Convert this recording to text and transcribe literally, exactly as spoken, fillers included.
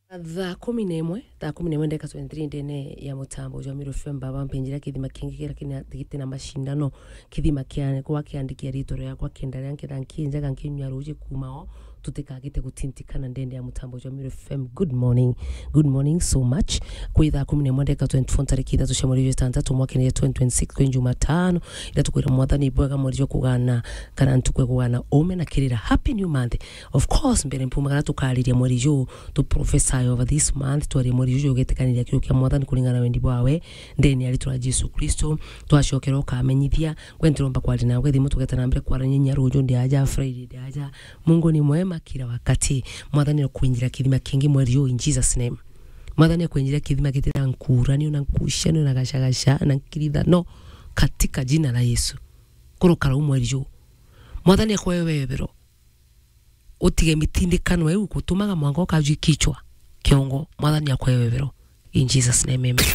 Thaa kumi na imwe, thaa kumi na imwe ndeka twenty-three ndene ya mutambo jwa Meru F M, baba mpenjira kithima kingi kira kina, giti na mashindano, kithima kia, gwa kiandikia ritwa riakwa kenda ria nketha nkinjaga nkinyua ruji kuuma o, tutikagite gutintikana ndende ya mutambo jwa Meru F M. Good morning. Good morning so much. Kwi thaa kumi na imwe ndeka twenty-four ntariki ithatu cia mweri jwa itantatu mwakene ya twenty twenty-six kwi Jumatano, ira tukwira mwathani bwega mweri jwa kugana, kana ntuku ya kugana ume na kirira. Happy new month. Of course, mbere mpumagara tukariria mweri juu, tu prophesy over this month, twarie mweri juu ugetikaniria kiugo kia mwathani kuringana na wendi bwawe, ndene ya ritwa ria Jesu Kristo, twacokera ukamenyithia, gwe ntiromba kwaria nawe thimu, tugeta na mbere kwarania nya ruju ndi aja, Friday ndi aja. Mungu ni mwema kila wakati. Mwathani akwinjira kithima kingi mweri juu in Jesus name. Mwathani akwinjira kithima giti na nkuranio, na nkucanio, na gacagaca, na nkirithano, katika jina la Yesu. Kurukara u mweri juu. Mwathani akwe webero. Utige mitindikano iu gutumaga mwanka ukajwi kichwa, kiongo. Mwathani akwe webero. In Jesus name, amen.